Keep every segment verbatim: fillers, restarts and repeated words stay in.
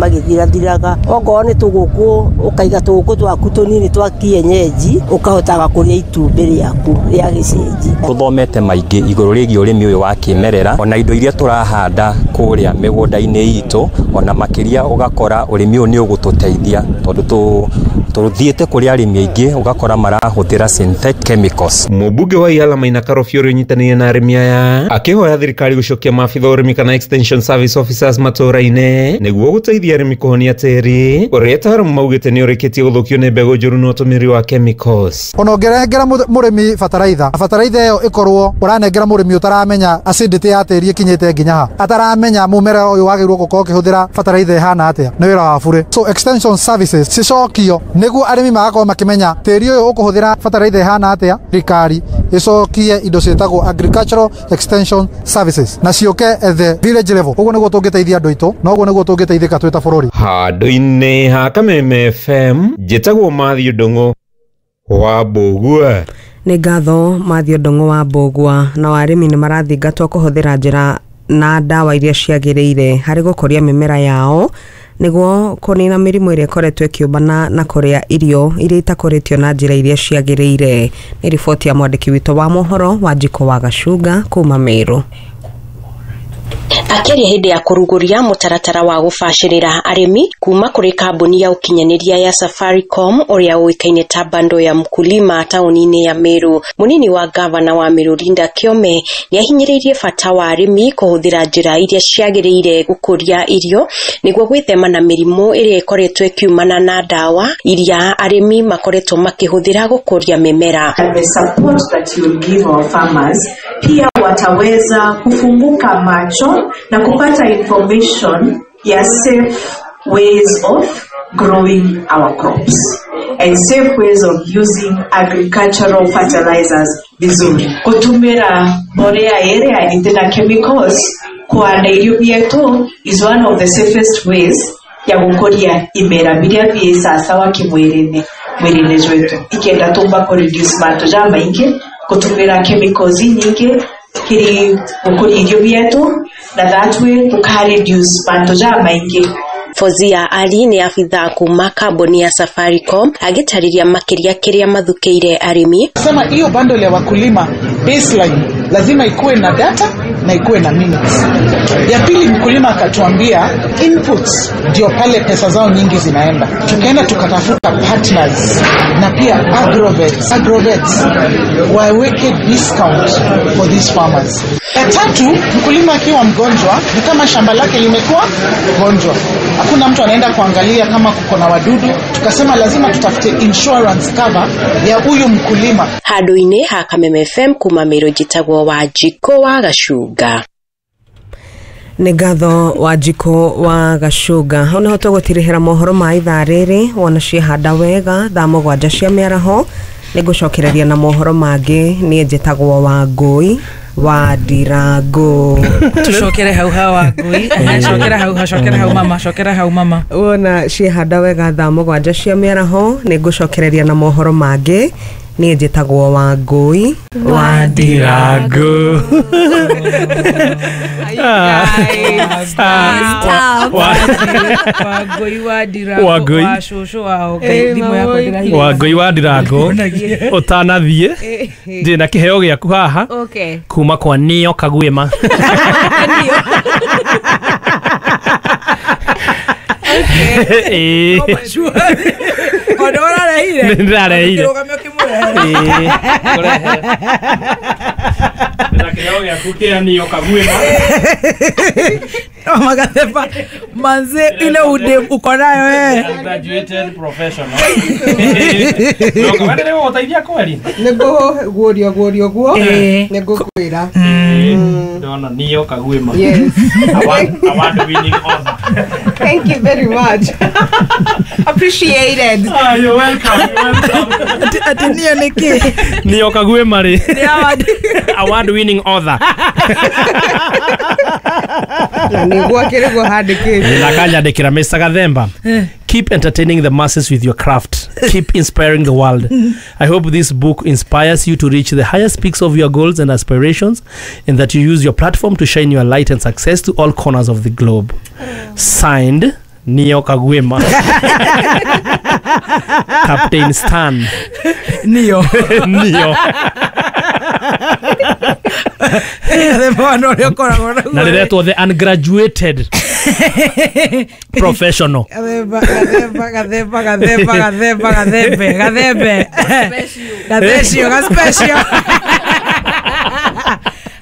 Magĩthirathiraga. Okorwo nĩ tũgũkũ, ũkaiga tũgũkũ twaku tũnini twa kienyeji, ũkahotaga kũrĩa itumbĩ rĩaku rĩa gĩcenji. Tũthomete maingĩ igũrũ rĩgiĩ ũrĩmi ũyũ wa kĩmerera, ona indo iria tũrahanda kũrĩa mĩgũnda-inĩ itũ, ona makĩria ũgakora ũrĩmi ũyũ nĩ ũgũtũteithia tondũ tũ tũthiĩte kũrĩ arĩmi aingĩ ũgakora marahũthĩra synthetic chemicals. Mũmbunge wa Iala Maina Karobia ũrĩa ũnyitanĩire na arĩmi aya akĩhoya thirikari gũcokia maabitha ũrĩmi kana extension service officers matũũra-inĩ nĩguo gũteithia arĩmi kũhonia tĩri ũrĩa ataaramu maugĩte nĩ ũrĩkĩtie gũthũkio nĩ mbegũ njũru na ũtũmĩri wa chemicals. Ona ũngĩnengera mũrĩmi bataraitha, bataraitha ĩyo ĩkorwo ũranengera mũrĩmi ũtaramenya acidity ya tĩri ĩkinyĩte nginya ha, ataramenya mũmera ũyũ wagĩrĩirwo gũkorwo ũkĩhũthĩra bataraitha ĩhana atĩa, nĩ wĩra wa bure. So extension services cicokio nĩguo arĩmi magakorwo makĩmenya tĩri ũyũ ũkũhũthĩra bataraitha ĩhana atĩa. Thirikari ĩcokie indo ciĩtagwo agricultural extension services na ciũke at the village level. Ũguo nĩguo tũngĩteithia andũ aitũ na ũguo nĩguo tũngĩteithĩka twĩ ta bũrũri. Handũ-inĩ ha Kameme F M, njĩtagwo Matthew Ndung'u wa Mbũgua. Nĩ ngatho Matthew Ndung'u wa Mbũgua. Na arĩmi nĩ marathingatwo kũhũthĩra njĩra na ndawa iria ciagĩrĩire harĩ gũkũria mĩmera yao nĩguo kũnina mĩrimũ ĩrĩa ĩkoretwo ĩkĩũmbana na kũrĩa irio iria itakũrĩtio na njĩra iria ciagĩrĩire. Nĩ riboti ya mwandĩki witũ wa mohoro Wanjikũ wa Gacunga kuma Meru. Akĩaria hĩndĩ ya kũrugũria mũtaratara wa gũbacĩrĩra arĩmi kuma kũrĩ kambuni ya ũkinyanĩria ya Safaricom ũrĩa ũĩkaine ta bando ya mkulima taũni-inĩ ya Meru, mũnini wa gavana wa Meru Linda Kĩome nĩahinyĩrĩirie bata wa arĩmi kũhũthĩra njĩra iria ciagĩrĩire gũkũria irio nĩguo gwĩthema na mĩrimũ ĩrĩa ĩkoretwo ĩkiumana na ndawa iria arĩmi makoretwo makĩhũthĩra gũkũria mĩmera. And the support that you give our farmers pia wataweza kufunguka macho na kupata information ya safe ways of growing our crops and safe ways of using agricultural fertilizers vizuri. Kutumira mbolea area itena chemicals kuanda irio bietu is one of the safest ways ya gukuria imera biria bie sasawa kimwirine mwirine jwetu ikenda tumba ku reduce mantu ja maingi kutumira chemicals nyingi kiri gukuria irio bietu na that way tuka reduce mantu ja maingi. Fozia Ali ni afitha kuma kambuni ya Safaricom agitariria makiria kiria mathukiire arimi. Sema hiyo bundle ya wakulima baseline lazima ikuwe na data na ikuwe na minutes. Ya pili, mkulima akatuambia inputs ndio pale pesa zao nyingi zinaenda. Tukaenda tukatafuta partners na pia agrovets, agrovets waweke discount for these farmers. Ya tatu, mkulima akiwa mgonjwa ni kama shamba lake limekuwa gonjwa, hakuna mtu anaenda kuangalia kama kuko na wadudu. Tukasema lazima tutafute insurance cover ya huyu mkulima. Handu-inĩ ha Kameme F M kuma Meru njĩtagwo Wanjikũ wa Gacunga. Nĩ ngatho Wanjikũ wa Gacunga. Hau nĩho tũgũtirihĩra mohoro ma ithaa rĩrĩ. Wona ciehanda wega thaa mũgwanja cia mĩaraho nĩngũcokereria na mohoro mangĩ. Niĩ njĩtagwo Wangũi wa Ndirango. Tucokere hau ha Wangũi. Cokera hau, cokera hau mama, cokera hau mama. Wona ciehanda wega thaa mũgwanja cia mĩaraho nĩngũcokereria na mohoro mangĩ. Niĩ njĩtagwo Wangũi wa Ndirango. Wangũi wa Ndirango wa cũcũ wao Ngai thimũ yakwa ndĩrahihinya. Wangũi wa Ndirango ũtanathiĩ ndĩ na kĩheo gĩaku haha kuma kwa Nio Kagwema. Okay. Ona ũrareire? Nĩndĩrareire. Kĩrũgamio kĩmũrehere. Ndĩna kĩheo gĩaku kĩa Nio Kagwema. No magatheba manze ile ude uko nayo wewe. Graduated professional. No kama nĩ gũgũteithia kweri? Nĩngũ guorio guorio guo. Nĩngũkwĩra. Ndona Nio Kagwema. Yes. Award award winning author. Thank you very much. Appreciate it. Ah, you're welcome. You're welcome. Ati Nio nĩkĩ? Nio Kagwema rĩ. Nĩ award award winning author. Na nĩguo kĩrĩguo handĩkĩte. Na kanyandĩkĩra Mister Gathemba. Keep entertaining the masses with your craft. Keep inspiring the world. I hope this book inspires you to reach the highest peaks of your goals and aspirations, and that you use your platform to shine your light and success to all corners of the globe. Signed, Nio Kagwema. Captain Stan. Nio. Nio. Na rĩretwo the ungraduated professional. Gathemba, gathemba, gathemba, gathemba, gathemba, gathembe, gathembe. Gathecio, gaspecial.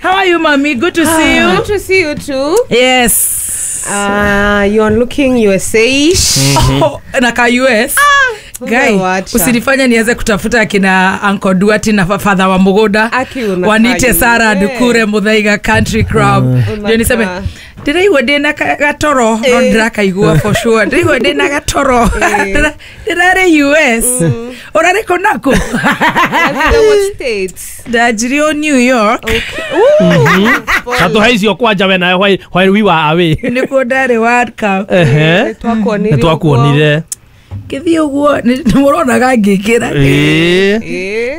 How are you, mommy? Good to see you. Good to see you too. Yes. Uh, you're looking U S A-ish. Mm-hmm. Oh, na ka U S. Ah, Guy, usinifanya nianze kutafuta akina Uncle Duati na Father wa Mugoda. Wanite Sarah Dukure Muthaiga Country Club. Ndio niseme ndiraigua ndina gatoro no ndirakaigua for sure. Ndiraigua ndina gatoro. Ndirarĩ U S. Urarĩ kũ naku? What states? Ndajirio New York. Tatu haicio kwanja we nayo while while we were away. Nikuo ndarĩ World Cup. Ehe. Nĩtwakuonire. Ngĩthiĩ ũguo nĩ mũronaga ngĩkĩra. Ĩĩ.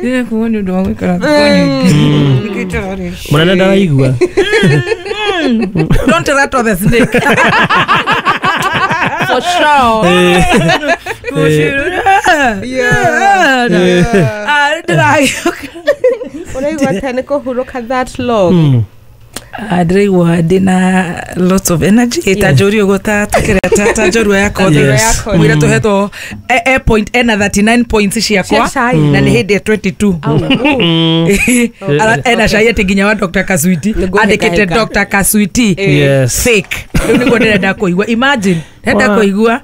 Ndĩrakuo nĩ ũndũ wa gũikara thikũ nyingĩ. Mũnene ndaraigua. Don't rattle the snake. For sure. For sure. Yeah. Ah, ndĩragĩũka. Ũraigua atĩa nĩ kũhurũka that long? Ndĩraigua ndĩna lots of energy. Ta njũri ũguo ta tũkĩrĩa ta njorua yakwa mwĩra tũhetwo e point ena thirty-nine points ciakwa na nĩ hĩndĩ ya twenty-two. Ena cai atĩ nginya wa Doctor Kaswiti andĩkĩte Doctor Kaswiti fake. Rĩu nĩguo ndĩrenda kũigua. Imagine ndĩrenda kũigua.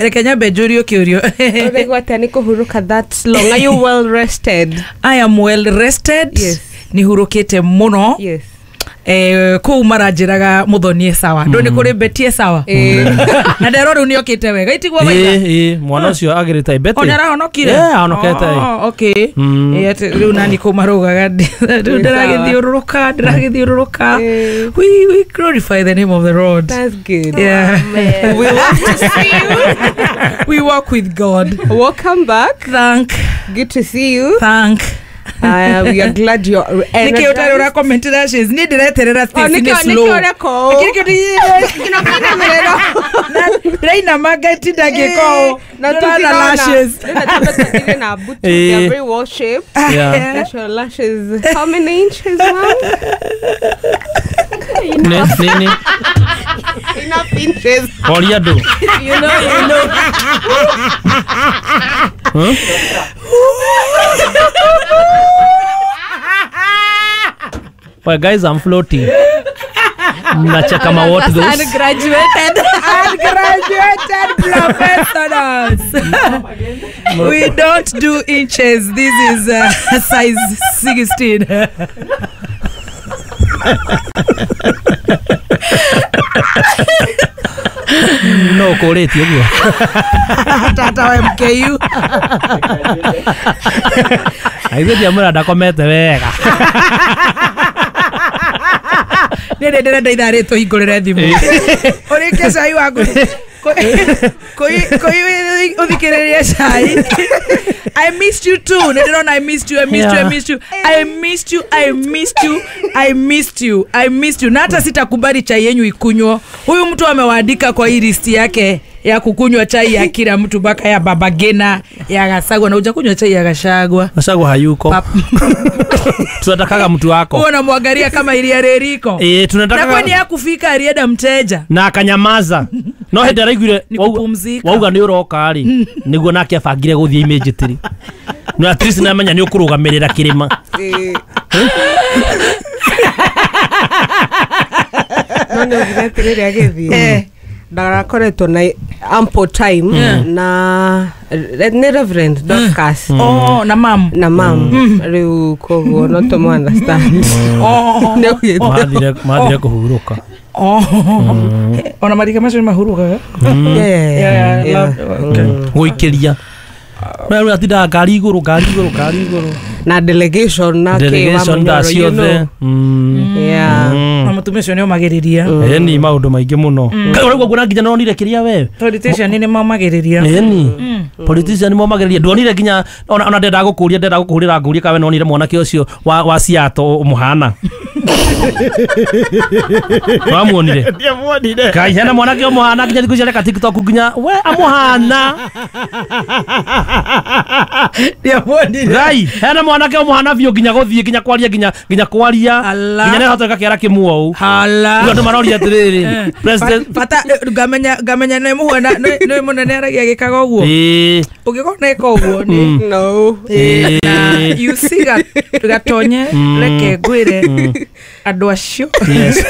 Reke nyambe njũrio kĩũrio. Ũraigua atĩa nĩ kũhurũka that long? Are you well rested? I am well rested. Yes. Nĩ hurũkĩte mũno. Yes. Eh, kũu maranjĩraga mũthonie sawa ndũ nĩ kũrĩ betie sawa na nderwo rĩu nĩokĩte wega itigwo wega. Ĩĩ mwana ũcio agĩrĩte Betty. Ona arahonokire. Yeah, ahonokete. Oh, okay. Ĩĩ atĩ rĩu nani kũu maraugaga rĩu ndĩragĩthiũrũrũka ndĩragĩthiũrũrũka. We we glorify the name of the Lord. That's good. Yeah. We love to see you. We walk with God. Welcome back. Thank. Good to see you. Thank. Uh, we are glad you're energized. Nĩkĩ ũtarĩ ũra comment lashes? Niĩ ndĩreterera Stacy nĩ slow. Nĩkĩ ndĩrainama ngatinda ngĩka ũũ. Na Ndĩrona lashes. Na butu, they are very well shaped. Yeah. That's your lashes. How many inches, ma'am? Nĩ nĩ Enough inches. Oria andũ. You know, you know. Huh? Well, guys, I'm floating. Nacheka ma what those? Ungraduated. Ungraduated professionals. We don't do inches. This is uh, size sixteen. No kũrĩtie ũguo. Tata wa M K U. Aithe ndiamwĩra ndakomete wega. Nĩ ndĩrenda ithaa rĩrĩ tũhingũrĩre thimũ. Ũrĩkie cai waku. Kũi ũthikĩrĩrie cai. I missed you too. Nĩ ndĩrona I missed you, I missed you, I missed you. I missed you, I missed you, I missed you, I missed you. Na hata sitakubali chai yenyu ikunywa. Huyu mtu amewaandika kwa hii list yake ya kukunywa chai ya kila mtu mpaka ya Baba Gena, ya Gachagua. Na hujakunywa chai ya Gachagua. Gachagua hayuko. Tunatakaga mtu wako. Huwa unamwangalia kama ilia reriko. Eh, tunataka. Na kwani hakufika alienda mteja. Na akanyamaza. No hĩndĩ araiguire Ni kupumzika. Wauga nĩ ũroka rĩ, nĩguo nake abangire gũthiĩ immediately. No at least nĩamenya nĩ ũkũrũgamĩrĩra kĩrĩma. No nĩ ugire atĩrĩrĩ agĩthiĩ. Ndarakoretwo na ample time na nĩ Reverend Dorcas. Oh, na mam. Na mam. Rĩu koguo no tũmũ understand. Oh. Mathire mathire kũhurũka. Oh. Ona marika macio nĩ mahurũkaga. Yeah. Yeah. Gũikĩria. No rĩu atindaga ngari igũrũ, ngari igũrũ, ngari igũrũ. Na delegation na delegation thaa ciothe. Yeah. Na mutumia ucio ni omagiriria. Eni maundu maingi muno. Kai uraigua nguona nginya nonire kiria we. Politician ni maomagiriria. Eni. Politician ni maomagiriria. Ndonire nginya ona ona ndenda gukuria ndenda gukuhurira ngurie kawe nonire mwanake ucio wa wa Seattle muhana. Wamuonire? Ndiamuonire. Kai hena mwanake umuhana nginya thiku ciareka TikTok nginya we amuhana. Ndiamuonire. Gai hena mwanake umuhana biũ nginya guthie nginya kwaria nginya nginya kwaria nginya nehota gakĩara kĩmuou. Hala. Rĩu andũ maroria atĩrĩrĩ president bata ngamenya ngamenya nĩ muhana nĩ munene aragia gĩkaga ũguo. Ĩĩ. Ũngĩkorwo neka ũguo nĩ no. You see gatonye reke ngwĩre andũ acio. Yes.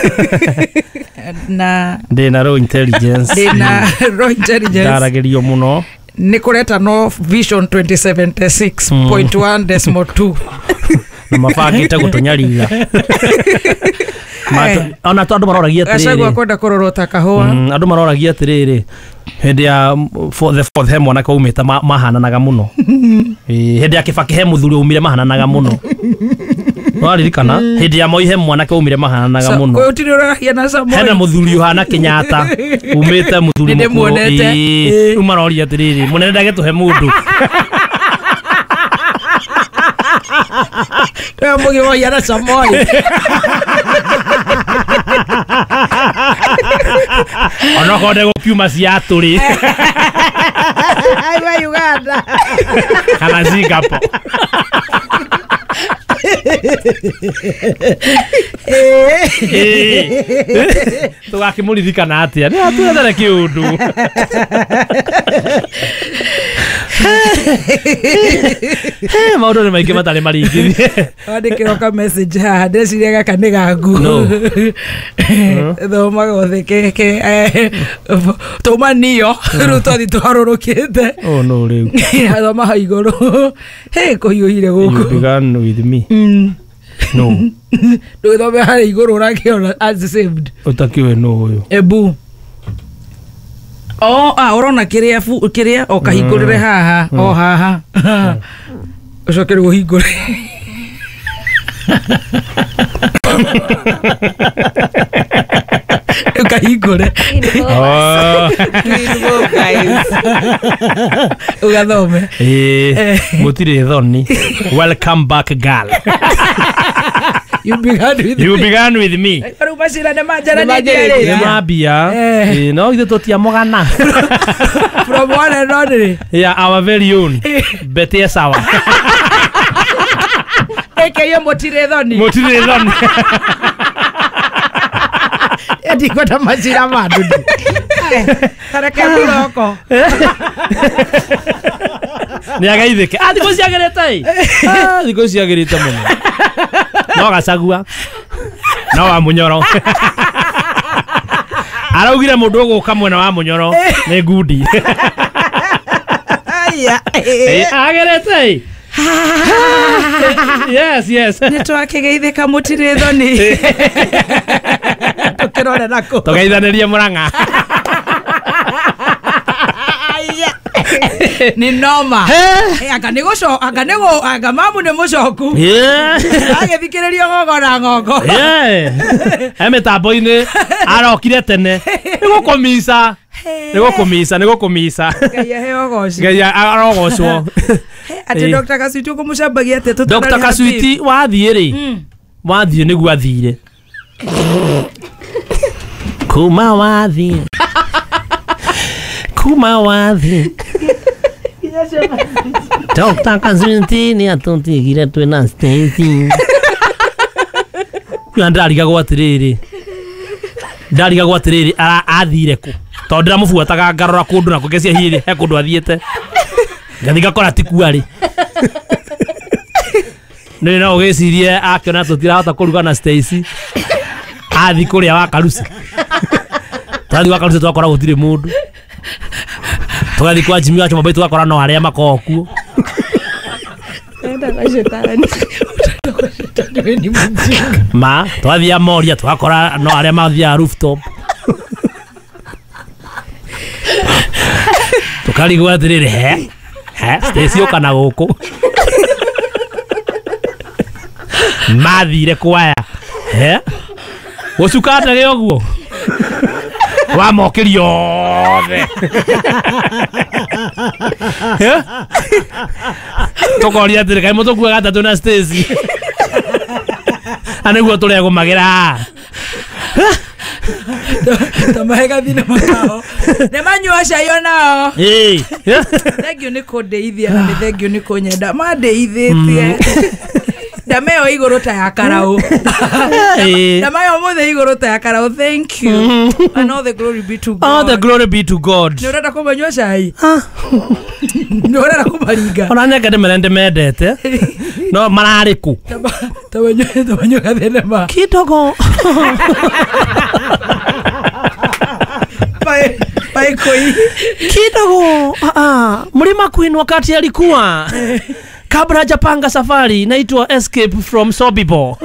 Na ndĩna raw intelligence. Ndĩna raw intelligence. Ndaragĩrio mũno. Nĩ kũreta no vision twenty seventy-six point one decimal two. Na mabangĩte gũtũnyarira. Ona to andũ maroragia atĩrĩrĩ. Gachagua kwenda kũrorwo ta kahũa. Andũ maroragia atĩrĩrĩ hĩndĩ ya for the fourth he mwanake umĩte mahananaga mũno. Hĩndĩ ya Kibaki he mũthuri umire mahananaga mũno. Waririkana hĩndĩ ya Moi he mwanake umire mahananaga mũno. Gũtirĩ ũrahiana Samoei. Hena mũthuri ũhana Kenyatta umĩte mũthuri mũkũrũ. Rĩu maroria atĩrĩrĩ mũnene ndagĩtũhe mũndũ. Nĩwe mũgĩ wahiana Samoei. Onokorwo ndegũkiuma Seattle rĩ. Aiwa Uganda. Kana Singapore. Tũgakĩmũririkana atĩa? Nĩ atwethere kĩũndũ. Maũndũ nĩ maingĩ matarĩ maringithie. Wandĩkĩrwo ka message haha ndeciria gaka nĩ gaku. Thoma gothe keke tũma niyo rĩu twathi tũharũrũkĩte. Oh no rĩu. Thoma hau igũrũ. Hĩ kũhiũhire gũkũ. You began with me. No. Ndũgĩthome harĩa igũrũ ũrakĩona as saved. Ũtakiwe no ũyũ. Ebu. Oh, ah, urona kiria fu kiria o kahingurire haha o haha. Ucoke rĩu ũhingũre. Ukahingũre. Oh. Ugathome. Eh, gũtirĩ thoni. Welcome back girl. You began with You me. began with me. Rĩu macira nĩ manjaranĩtie Nĩ mambia. Eh, no ithuĩ tũtiamũgana. From one and only. Yeah, our very own. Betty Sawa. A K A mũtirĩ thoni. Mũtirĩ thoni. Ndikwenda macira ma ndudu. Tareke mũroko. Nĩ agaithĩke. Ah, thikũ ciagĩrĩte ĩ. Ah, thikũ ciagĩrĩte mũno. No Gachagua. No wa Munyoro. Araugire mũndũ ũgũka mwena wa Munyoro nĩ ngundi. Aya. Agĩrĩte ĩ. Yes, yes. Nĩ twakĩgeithĩka mũtirĩ thoni. Tũkĩrore nakũ. Tũgeithanĩrie Mũrang'a. Nĩ noma. Anga nĩ gũco anga nĩ gũ anga mamu nĩ mũcoku. Agĩthikĩrĩrio ng'ongo na ng'ongo. He mĩtambo-inĩ arokire tene. Nĩ gũkũmica. Nĩ gũkũmica, nĩ gũkũmica. Ngai aheo ũgoci. Ngai arogocwo. Atĩ Doctor Kasuiti ũkũmũcambagia atĩa tũtararĩ Doctor Kasuiti wathiĩ rĩ. Wathiĩ nĩguo athire. Kuma wathiĩ. Kuma wathiĩ. Doctor Kasuiti nĩ atũtigire twĩna Stacy. Kũrĩa ndarigagwo atĩrĩrĩ. Ndarigagwo atĩrĩrĩ athire kũ. Tondũ ndĩramũbuataga ngarora kũndũ na kũngecia hihi he kũndũ athiĩte. Ngathi ngakora ti kuo arĩ. Nĩ no ũgĩcirie akĩona tũtirahota kũruga na Stacy. Athi kũrĩa wa Karusi. Twathi gwa Karusi twakora gũtirĩ mũndũ. Tũgathiĩ kwa Jimmy wa Chomabei tũgakora no arĩa makoragwo kuo. Enda kwa shetani. Ma twathiĩ Moria twakora no arĩa mathiaga rooftop. Tũkarigwo atĩrĩrĩ he he Stacy ũka na gũkũ. Mathire kwaya. Eh? Gũcuka ndege ũguo. Wamokĩria othe. Eh? Tũkoria atĩrĩ kaĩ mũtũkuaga atatũ na Stacy. Na nĩguo tũregũmagĩra. Tamahe thinema kao. Nĩ manyua cai onao. Ĩĩ. Thengiũ nĩ kũndeithia na nĩ thengiũ nĩ kũnyenda. Mandeithĩtie. Ndameo igũrũ ta ya karaũ. Ndameo ũmũthĩ igũrũ ta ya karaũ. Thank you. And all the glory be to God. All the glory be to God. Nĩ ũrenda kũmanyua cai? Nĩ ũrenda kũmaringa? Ona nyeke ndĩmere ndĩmendete. No mararĩ kũ? Tamanyua gathenema. Kidogo. Paikoi. Kidogo. Ah, Mlima Queen wakati alikuwa kabla hajapanga safari inaitwa Escape from Sobibor.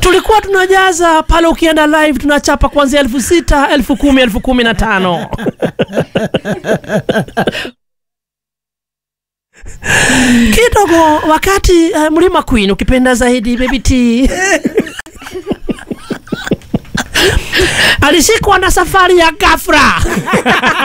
Tulikuwa tunajaza pale, ukienda live tunachapa kuanzia elfu sita, elfu kumi, elfu kumi na tano. Kidogo wakati uh, Mlima Queen ukipenda zaidi Baby T alishikwa na safari ya ghafla.